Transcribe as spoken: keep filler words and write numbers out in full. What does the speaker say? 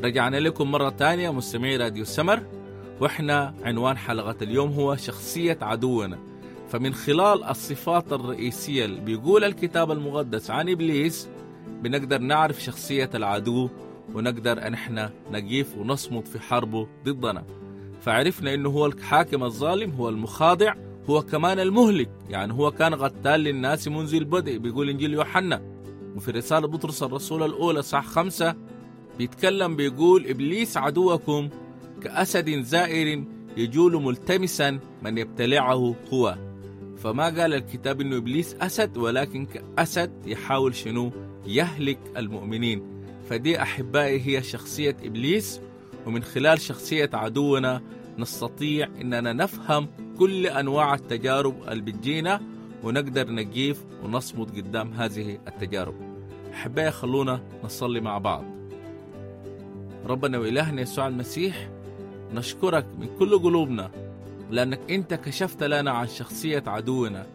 رجعنا لكم مرة تانية مستمعي راديو سمر، واحنا عنوان حلقة اليوم هو شخصية عدونا. فمن خلال الصفات الرئيسية اللي بيقول الكتاب المقدس عن إبليس بنقدر نعرف شخصية العدو، ونقدر أن احنا نقيف ونصمد في حربه ضدنا. فعرفنا إنه هو الحاكم الظالم، هو المخادع، هو كمان المهلك، يعني هو كان قتال للناس منذ البدء، بيقول إنجيل يوحنا. وفي رسالة بطرس الرسول الأولى صح خمسة بيتكلم بيقول إبليس عدوكم كأسد زائر يجول ملتمسا من يبتلعه هو. فما قال الكتاب إنه إبليس أسد، ولكن كأسد يحاول شنو؟ يهلك المؤمنين. فدي أحبائي هي شخصية إبليس، ومن خلال شخصية عدونا نستطيع إننا نفهم كل أنواع التجارب اللي بتجينا، ونقدر نقيف ونصمد قدام هذه التجارب. أحبائي خلونا نصلي مع بعض. ربنا وإلهنا يسوع المسيح، نشكرك من كل قلوبنا لأنك أنت كشفت لنا عن شخصية عدونا،